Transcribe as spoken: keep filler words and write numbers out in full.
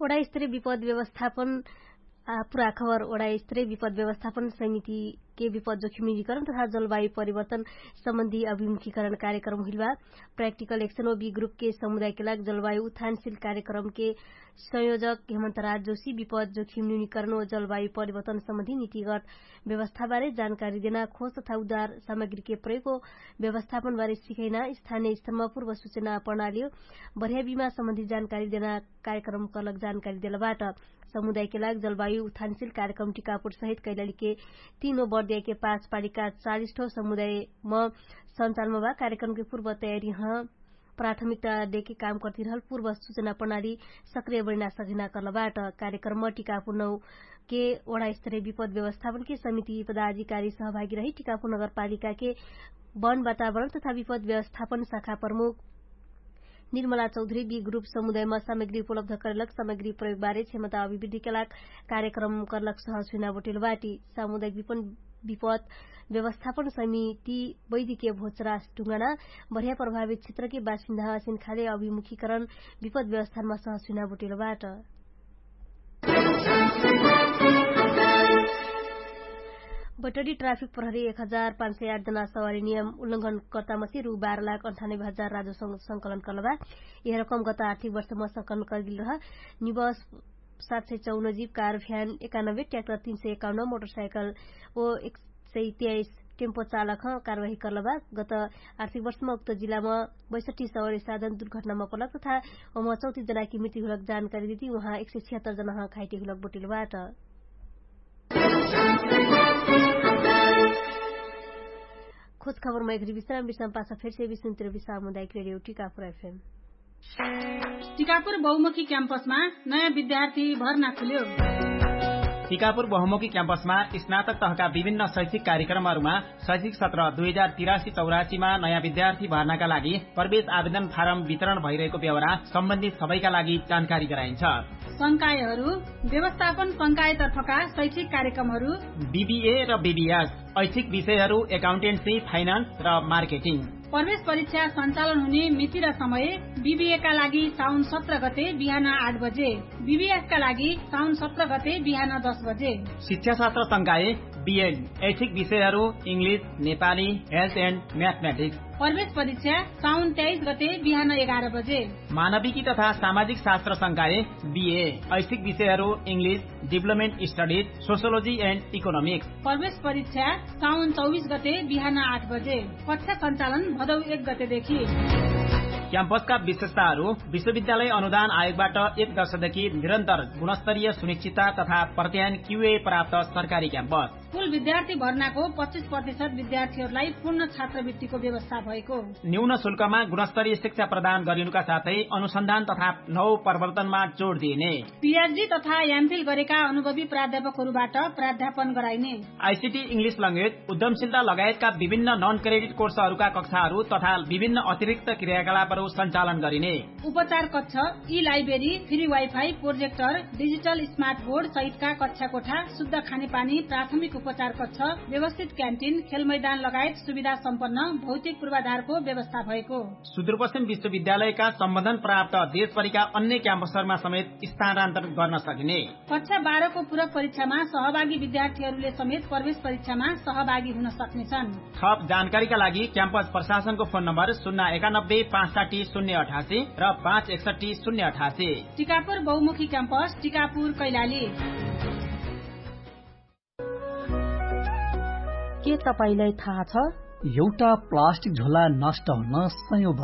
ओडास्तरीय विपद व्यवस्थापन पुराखबर ओडास्तरीय विपद व्यवस्थापन समितिके विपद जोखिम निरीकरण तथा जलवायु परिवर्तन सम्बन्धी अभिमुखीकरण कार्यक्रम हुइलबा। प्राक्टिकल एक्सन ओ बी ग्रुपके समुदायके लाग जलवायु उत्थानशील कार्यक्रमके संयोजक हेमन्तराज जोशी विपद जोखिम निरीकरण ओ जलवायु परिवर्तन सम्बन्धी नितिगत व्यवस्थाबारे जानकारी देना खोज तथा उद्धार सामग्रीके प्रयोगको व्यवस्थापनबारे सिखैना स्थानीय स्तरमा पूर्व सुचना प्रणाली बढ्या बिमा सम्बन्धी जानकारी देना कार्यक्रम कलक जानकारी देलबाट। समुदायके लाग जलवायु उत्थानशील कार्यक्रम टिकापुर सहित कैलालीके तीनो बर्दियाके पाँच पालिका चालिस ठो समुदायम सञ्चालमा बा। कार्यक्रमके पूर्व तयारी ह प्राथमिकता देके काम कर्तिरहल पूर्व सुचना प्रणाली सक्रिय बनिना सघिना कर्लबाट। कार्यक्रमम टिकापुर नौके ओडास्तरीय विपद व्यवस्थापनके समिति पदाधिकारी सहभागी रही टिकापुर नगरपालिकाके वन वातावरण तथा विपद व्यवस्थापन शाखा प्रमुख निर्मला चौधरी बी ग्रुप समुदायमा सामग्री उपलब्ध करेलक सामग्री प्रयोगबारे क्षमता अभिवृद्धिके लाग कार्यक्रम कर्लक सहज हुइना बोटेलबाटी। सामुदायिक विपन विपद व्यवस्थापन समिति वैदिकीय भोचरास ढुङ्गाना बढिया प्रभावित क्षेत्रके बासिन्दा असिन खाले अभिमुखीकरण विपद व्यवस्थानमा सहज हुइना बोटेलबाट। बैटरी ट्राफिक प्रहरी एक हजार पाँच सय आठ जना सवारी नियम उल्लङ्घन कर्ता मसी रु बाह्र लाख अन्ठानब्बे हजार राजो संकलन कर्लबा। यह रकम गत आर्थिक वर्षमा संकलन कर्गिल रह निबस सात सय चौन जीव कार भ्यान एकानब्बे ट्याक्टर तीन सय एकाउन्न मोटरसाइकल ओ एक सय तेइस टेम्पो चालक ह कारवाही कर्लबा। गत आर्थिक वर्षमा उक्त जिल्लामा बैसठी सवारी साधन दुर्घटनामा पर्लक तथा ओमा चौतिस जनाकी मृत्यु हुलक जानकारी दिदी उहाँ एक सय छिहत्तर जना ह घाइटे हुलक बोटिलबाट। खोज खबर मैखरी विश्राम विश्राम पासा फेर से विश्राम तिर विश्राम हुँदा एक रेडियो टिकापुर एफएम। टिकापुर बहुमुखी क्याम्पसमा नयाँ विद्यार्थी भर्ना खुल्यो। टिकापुर बहुमुखी क्याम्पसमा स्नातक तहका विभिन्न शैक्षिक कार्यक्रमहरूमा शैक्षिक सत्र दुई हजार तिरासी चौरासीमा नयाँ विद्यार्थी भर्नाका लागि प्रवेश आवेदन फारम वितरण भइरहेको बेहोरा सम्बन्धित सबैका लागि जानकारी गराइन्छ। संकायहरू व्यवस्थापन संकायतर्फका शैक्षिक कार्यक्रमहरू बिबिए र बिबिएस, ऐच्छिक विषयहरू एकाउन्टेन्सी, फाइनान्स र मार्केटिङ। प्रवेश परीक्षा सञ्चालन हुने मिति र समय बिबिएका लागि साउन सत्र गते बिहान आठ बजे, बिबिएसका लागि साउन सत्र गते बिहान दस बजे। शिक्षाशास्त्र संकाय बिएन, ऐच्छिक विषयहरू इङ्ग्लिस, नेपाली, हेल्थ एन्ड म्याथमेटिक्स। प्रवेश परीक्षा साउन तेइस गते बिहान एघार बजे। मानविकी तथा सामाजिक शास्त्र संकाय बिए, ऐच्छिक विषयहरू इङ्ग्लिस, डिभलपमेन्ट स्टडिज, सोसियोलोजी एन्ड इकोनोमिक्स। प्रवेश परीक्षा साउन चौबिस गते बिहान आठ बजे। कक्षा सञ्चालन भदौ एक गतेदेखि। क्याम्पसका विशेषताहरू विश्वविद्यालय अनुदान आयोगबाट एक दर्शकदेखि निरन्तर गुणस्तरीय सुनिश्चितता तथा प्रत्ययन क्युए प्राप्त सरकारी क्याम्पस। कुल विद्यार्थी भर्नाको पच्चिस प्रतिशत विद्यार्थीहरूलाई पूर्ण छात्रवृत्तिको व्यवस्था भएको। न्यून शुल्कमा गुणस्तरीय शिक्षा प्रदान गरिनुका साथै अनुसन्धान तथा नव प्रवर्तनमा जोड दिइने। पिएचडी तथा एमफिल गरेका अनुभवी प्राध्यापकहरूबाट प्राध्यापन गराइने। आइसिटी इङ्ग्लिस लङ्गेज उद्यमशीलता लगायतका विभिन्न नन क्रेडिट कोर्सहरूका कक्षाहरू तथा विभिन्न अतिरिक्त क्रियाकलापहरू सञ्चालन गरिने। उपचार कक्ष, ई library, free wifi, projector, digital smart board सहितका कक्षा कोठा, शुद्ध खानेपानी, प्राथमिक उपचार कक्ष, व्यवस्थित क्यान्टिन, खेलमैदान लगायत सुविधा सम्पन्न भौतिक पूर्वाधारको व्यवस्था भएको। सुदूरपश्चिम विश्वविद्यालयका सम्बन्धन प्राप्त देशभरिका अन्य क्याम्पसहरूमा समेत स्थानान्तरण गर्न सकिने। कक्षा बाह्रको पूरक परीक्षामा सहभागी विद्यार्थीहरूले समेत प्रवेश परीक्षामा सहभागी हुन सक्नेछन्। थप जानकारीका लागि क्याम्पस प्रशासनको फोन नम्बर शून्य एकानब्बे पाँच साठी शून्य अठासी र पाँच एकसठी शून्य अठासी। टिकापुर बहुमुखी क्याम्पस, टिकापुर, कैलाली। के तपाईंलाई थाहा छ? एउटा प्लास्टिक झोला नष्ट हुन सयौं वर्ष